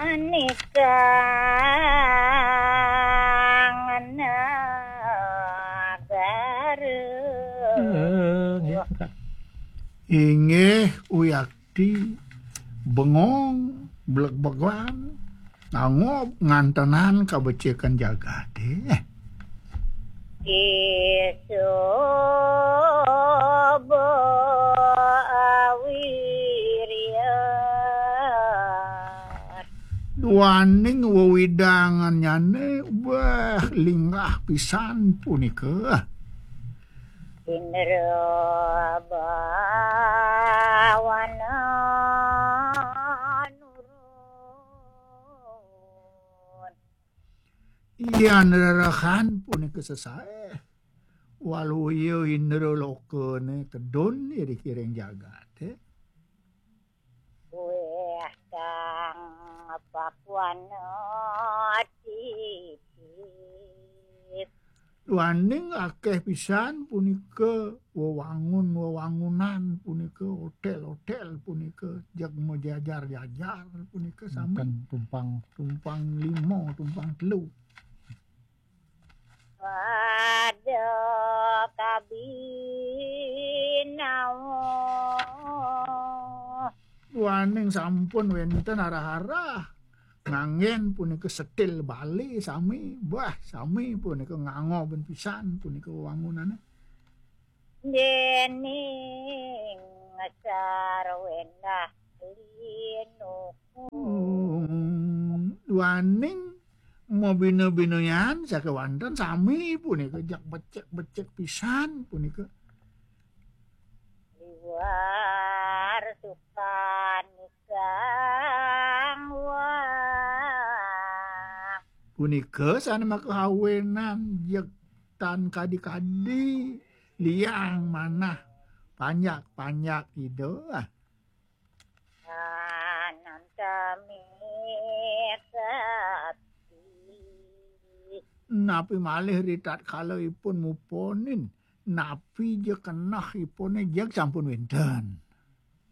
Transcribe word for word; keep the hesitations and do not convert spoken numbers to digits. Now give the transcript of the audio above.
Nikang nagara. Eh, nggih, Kak. Inggih, uyakti bengong, bleg-began, ngangob ngantenan kabecikan jagaté. Isuba awirian. Duaning wewidangannyané, wah, linggah pisan punika. Indra bawana nurun. Yan rerehan punika sesaé, waluya indra lokané tedun iring-iring jagaté. Wéh kang pakuana titip. Duaning akéh pisan punika wewangun-wewangunan punika, hotél-hotél punika, jeg majajar-jajar punika sami. Tumpang, tumpang lima, tumpang telu. Pada kabinawa. Duaning sampun wénten arah-arah nganggén punika setil Bali sami, wah, sami punika ngangob pisan punika wewangunané. Déning sarwendah linukung. Hmm, duaning mabina-binayan sakéwanten sami punika, jak becik-becik pisan punika. Liwar sukan ikang wah. Punika sané makaawinan jeg tan kadi-kadi liang manah panjak-panjak Ida. Anantami kati. Napi malih ritatkala ipun muponin, napi ja keneh ipuné jeg sampun wénten.